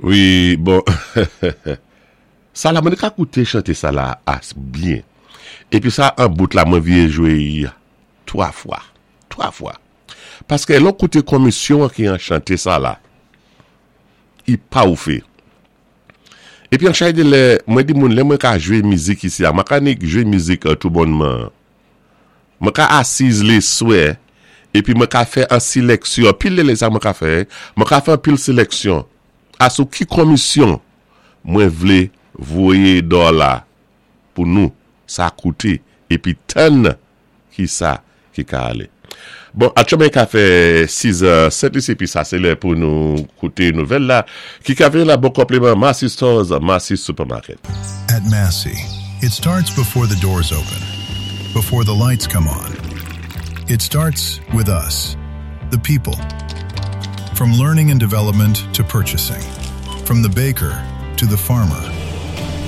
Wi bon sa la mwen ka koute chante sa la as byen epi sa an bout la mwen vye jwe y 3 fwa 3 fwa paske lè w koute konmisyon an ki an chante sa la i pa oufe epi an chay de lè mwen di moun lè mwen ka jwe mizik isi a mwen ka nik jwe mizik tou bònman Mwen ka asiz leswè epi mwen ka fè an sileksyon, anpil de lè sa mwen ka fè, mwen ka fè anpil seleksyon a sou ki konmisyon mwen vle voye dòla pou nou sa koute epi tann ki sa ki ka ale. Bon, aktyèlman ka fè 6 è 7 lis epi sa se lè pou nou koute nouvèl la ki ka vini la bon konpliman Massy Stores, Massy Supermarket. At Massy, it starts before the doors open, before the lights come on. It starts with us, the people. From learning and development to purchasing, from the baker to the farmer,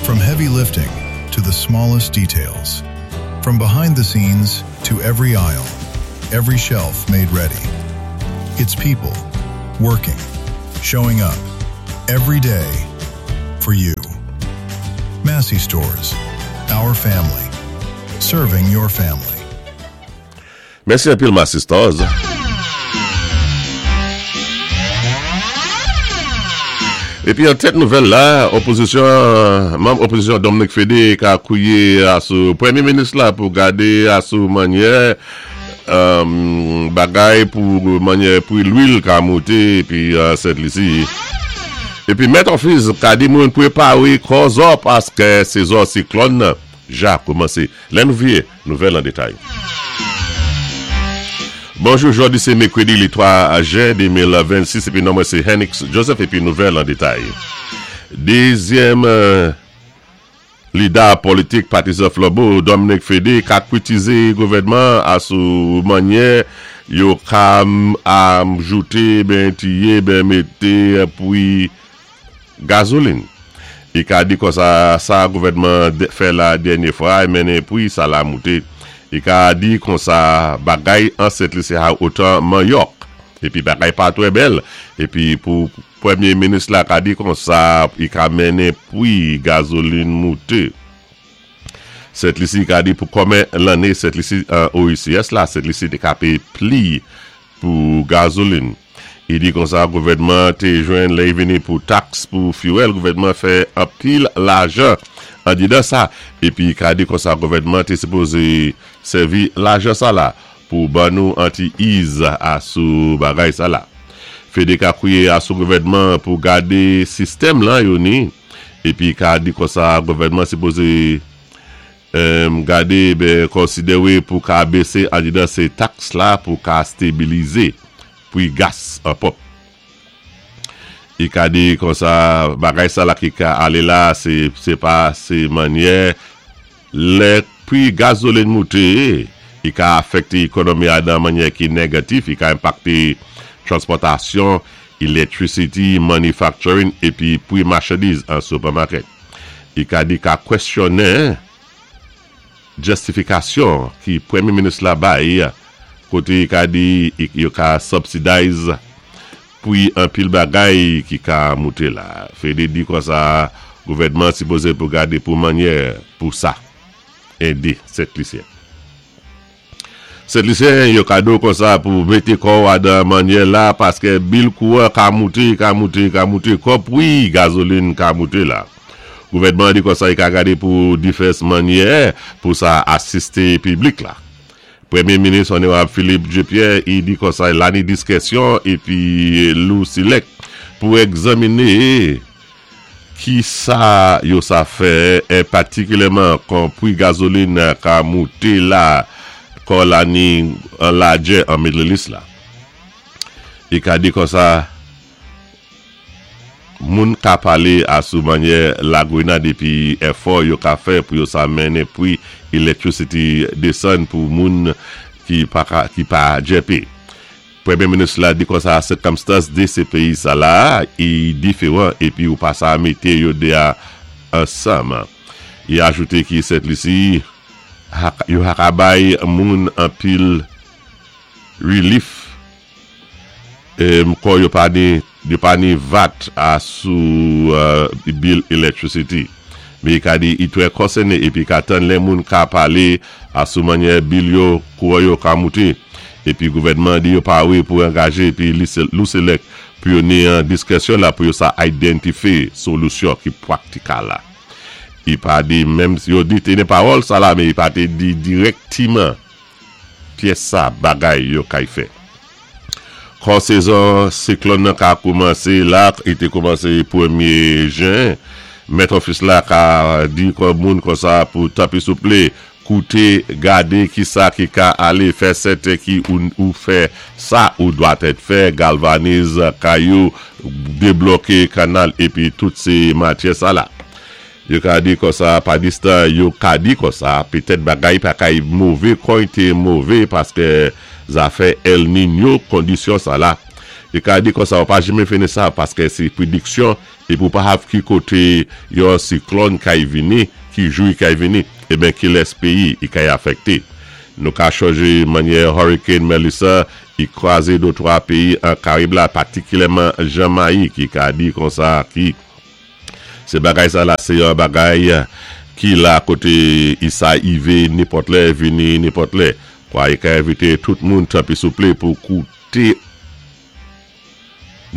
from heavy lifting to the smallest details, from behind the scenes to every aisle, every shelf made ready. It's people working, showing up every day for you. Massy Stores, our family, serving your family. Mèsi anpil Massy Stores. Epi an tèt nouvèl la, opozisyon, manm opozisyon Dominique Fédé ka kouye sou premye minis la pou gade sou manyè bagay pou manyè pri lwil ka moute epi Sent Lisi. Epi Met Office ka di moun prepare kò zò paske sezon siklòn nan ja koumanse. Lè nou vye. Nouvèl an detay. Bonjou jodi se mekredi li 3 jen 2026 epi non mwen se Henix Joseph epi nouvèl an detay. Dezyèm lida politik patizan Flanbo Dominique Fédé ka kritize gouvènman a sou manyè yo ka ajoute ben tiye ben mete pwi Gazolin. I ka di konsa sa gouvènman an fè la dènye fwa a mennen pri sa la moute. I ka di konsa bagay an Sent Lisi ha otan manyòk. Epi bagay pa twè bèl. Epi pou premye minis la ka di konsa i ka mennen pri gazolin moute. Sent Lisi ka di pou kòmen lanne Sent Lisi an OECS la Sent Lisi te ka peye pli pou gazolin. Li di konsa gouvènman an te jwenn lè vini pou taks pou fuel gouvènman an fè anpil lajan andedan sa epi ka di konsa gouvènman an te sipoze sèvi lajan sa la pou ban nou an ti iz a sou bagay sa la. Fede ka kwiye a sou gouvènman an pou gade sistèm lan yo ni epi ka di konsa gouvènman sipoze M gade ben konsidewe pou ka bese andedan se taks la pou ka stebilize pri gas an pòp. I ka di konsa bagay sa la ki ka ale la se se pa se manyè lè pri gazolin moute i ka afekte ekonomi a nan manyè ki negatif i ka enpakte transpòtasyon, electricity, manufacturing epi pri machandiz an supermarket. I ka di ka kwesyonnen justifikasyon ki premye minis la bay kote i ka di yo ka subsidize pri anpil bagay ki ka moute la. Fede di konsa gouvènman sipoze pou gade pou manyè pou sa ede Sent Lisyen. Sentlisyen yo kado konsa pou mete kòw a dan manyè la paskè bil kouran ka moute ka moute ka moute kò pwi gazolin ka moute la. Gouvènman an di konsa i ka gade pou difès manyè pou sa asiste piblik la. Premye minis Onorab Philippe Dieu Pierre i di konsa lani diskèsyon epi lou silèk pou egzanmine Ki sa yo sa fè en patikilyèman kon pri gazolin ka moute la kò la ni an lajè an Middle East la. I ka di konsa moun ka pale a sou manyè lagrenad epi èfò yo ka fè pou yo sa mennen pri electricity desann pou moun ki pa ka ki pa djèpe. Premye minis la di konsa sikamstans 2 se peyi sa la i diferan epi ou pa sa mete yo 2 a ansanm. I ajoute ki Sent Lisi yo ha ka bay moun anpil rilif kò yo pa ni Yo pa ni VAT a sou bill electricity. Men i ka di i twè konsèné épi ka tann lè moun ka palé a sou mannyè bill yo kouran yo ka moute. Épi gouvèdman an di yo pawé pou angaje épi LUCELEC pou yo ni an diskrèsyon la pou yo sa identifé solusyon ki pwaktikal la. I pa di menm yo di te ni pawòl sa la men i pa te di dirèktiman pyès sa bagay yo kay fè. Kò sezon siklòn nan ka koumanse la, li te koumanse premye jen, Mèt Ofis la ka di kò moun konsa pou tanpri souple koute, gade kisa ki ka ale fè sèten ki ou fè sa ou dwatèt fè, galvanize kay ou, debloke kanal epi tout se matyè sa la. Yo ka di konsa pa distan yo ka di konsa petèt bagay pa kay move kon y te move paske zafè El Niño kondisyon sa la yo ka di konsa ou pa janmen fini sa paske se prediksyon epi ou pa hav ki kote yon siklòn kay vini ki jou y kay vini eben kilès peyi y kay afekte nou ka chonje manyè Hurricane Melissa y kraze dotwa peyi an Karib la patikilyèman Jamayik y ka di konsa ki. Se bagay sa la se yon bagay ki la kote isa ive nenpòt lè vini nenpòt lè. Kwa e ka envite tout moun tanpri souple pou koute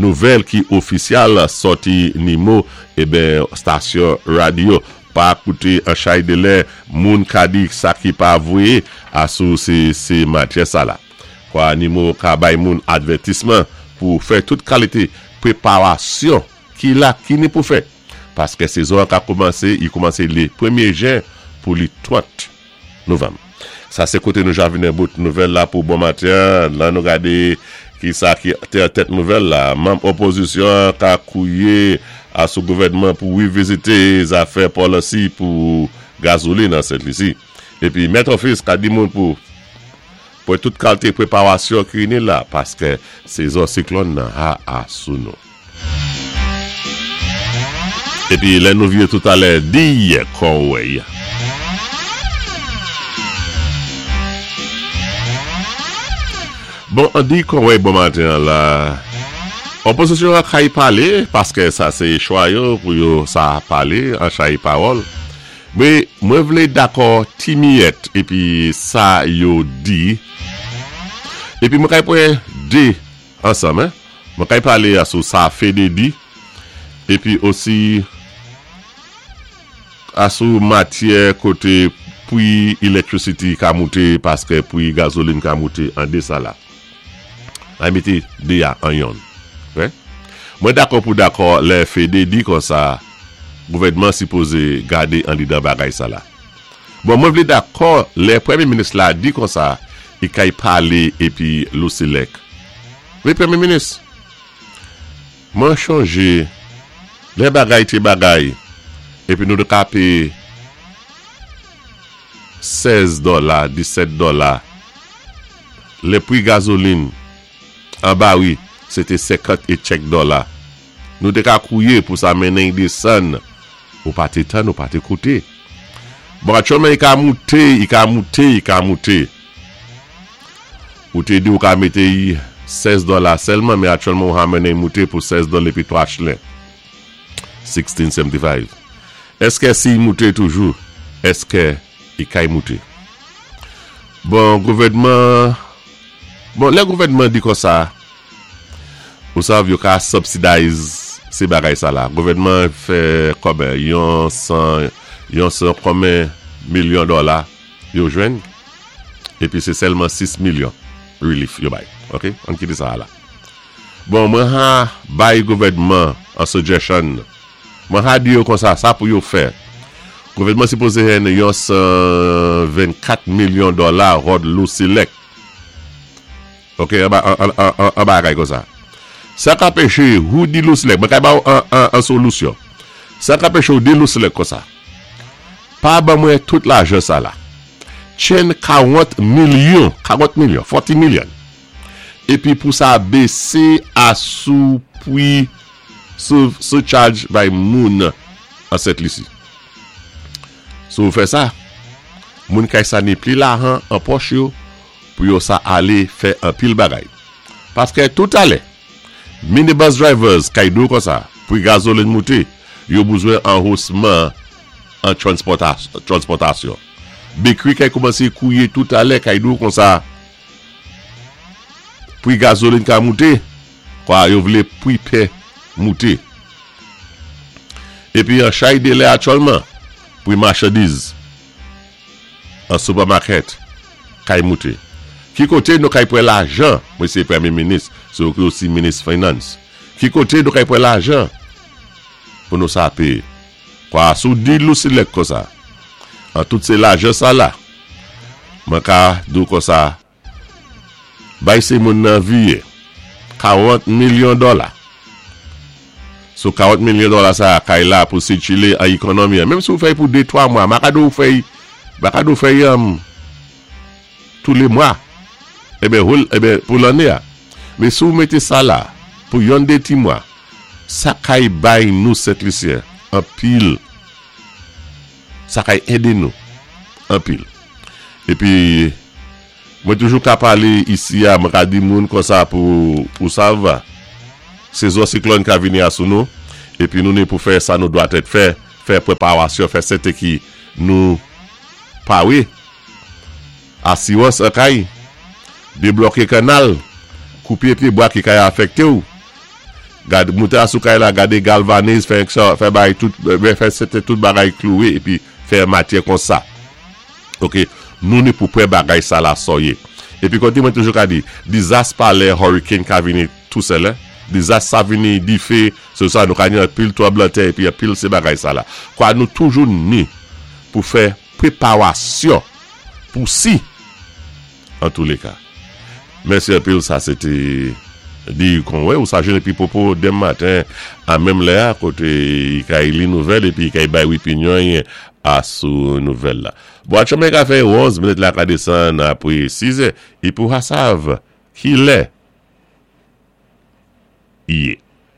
nouvèl ki ofisyal sòti nimo eben stasyon radyo. Pa koute an chay de lè moun ka di sa ki pa vwe a sou se se matyè sa la. Kwa nimo ka bay moun advètisman pou fè tout kalite preparasyon. Ki la ki ni pou fè. Paskè sezon an ka koumanse, i koumanse le premye jen pou li 30 novanm. Sa se kote nou javinen bout nouvèl la pou bon maten an. Lan nou gade ki sa ki te an tèt nouvèl la. Manm opozisyon an ka kouye a sou gouvènman pou revizite zafè policy pou gazolin an Sent Lisi. Epi Mèt Ofis ka di moun pou pran tout kalte preparasyon ki ni la paskè sezon siklòn nan ha a sou nou. Epi lè nou vye toutalè diy Conway. Bon diy Conway bon maten an la. Opozisyon an kay pale paske sa se chwa yo pou yo sa pale an chay pawòl. Men mwen vle dakò ti miyèt epi sa yo di. Epi mwen kay pwen 2. Ansanm hein. Mwen kay pale a sou sa Fede di epi osi a sou matyè kote pwi electricity ka moute paske pwi gasoline ka moute an 2 sa la. Ay mete 2 a an yonn. Ok. Mwen dakò pou dakò lè Fede di konsa gouvènman sipoze gade andedan bagay sa la. Bon mwen vle dakò lè premye minis la di konsa i kay pale epi Lucelec wi premye minis mwen chonje lè bagay te bagay epi nou te ka peye 16 dòla 17 dòla lè pri gazolin an bari se te 50 e tchèk dòla nou te ka kouye pou sa mennen y desann Ou pa te tann, ou pa te koute. Bon aktyèlman i ka moute, i ka moute, i ka moute. Ou te di ou ka mete i 16 dòla sèlman, men aktyèlman ou ha mennen i moute pou 16 dòla epi 3 chlen. 1675. Èske si i moute toujou, èske i kay moute? Bon gouvènman, bon lè gouvènman di konsa. Ou sav yo ka subsidize se bagay sa la. Gouvènman an fè kòmè yon 100 yon 100 kòmè milyon dòla yo jwenn epi se sèlman 6 milyon relief yo bay. Ok ann kite sa a la. Bon mwen ha bay gouvènman an suggestion mwen ha di yo konsa sa pou yo fè. Gouvènman sipoze jwenn yon 124 milyon dòla ròd lou select. Ok an bagay konsa. Sa ka peche ou di Louslèk mwen ka ba ou an solusyon. Sa ka peche ou di Louslèk konsa. Pa ban mwen tout lajan sa la. Chen 40 milyon, 40 milyon, 40 milyon. Epi pou sa bese a sou pwi sou surcharge bay moun an Sent Lisi. Si ou fè sa, moun kay sa ni pli lahan an pòch yo. Pou yo sa ale fè anpil bagay. Paskè toutalè. Minibus drivers kay di-w konsa, pri gazolin moute, yo bouzwen anhosman an transpòtasyon. Bakery kay koumanse kouye tout alè kay di-w konsa, pri gazolin ka moute, kwa yo vle pri pen moute. Epi an chay delè aktyèlman, pri machandiz. An supermarket kay moute. Ki kote nou kay pran lajan mesye premye minis se ou ki osi minis finance ki kote nou kay pran lajan pou nou sa peye kwa si w di Lucileque konsa an tout se lajan sa la mwen ka di w konsa Bay se moun nan viye 40 milyon dola. Sou 40 milyon dola sa a kay la pou sikile an ekonomi an. Menm si ou fè pou 2, 3 mwa, ma ka di ou fè, ma ka di ou fè tou le mwa. Eben whole, eben pou lanne a. Men si ou mete sa la pou yon 2 ti mwa, sa kay bay nou Sent Lisyen anpil. Sa kay ede nou anpil. Epi mwen toujou ka pale isi a, mwen ka di moun konsa pou ou sav, sezon siklòn ka vini a sou nou, epi nou ni pou fè sa nou dwatèt fè, fè preparasyon, fè sèten ki nou pare. Asirans an kay, debloke kannal, koupe pye bwa ki kay afekte ou, gad moute a sou kay la, gade galvanize, fè fè bagay tout, fè sèten tout bagay klouwe epi fè matyè konsa. Ok, nou ni pou prè bagay sa la sòye. Epi kote mwen toujou ka di, dizas pa lè hurricane ka vini tou sèl, dizas sa vini dife, se sa nou ka ni anpil tranblan tè epi anpil se bagay sa la. Kwa nou toujou ni pou fè preparasyon pou si antouleka. Mèsi anpil sa se te di kon wè ou sa jwenn epi popo dem maten a menm lè a kote i kay li nouvèl epi i kay bay wipinyon i a sou nouvèl la. Bon atchòmè ka fè 11 minit la ka desann apre 6 è epi ou ha sav ki lè i ye.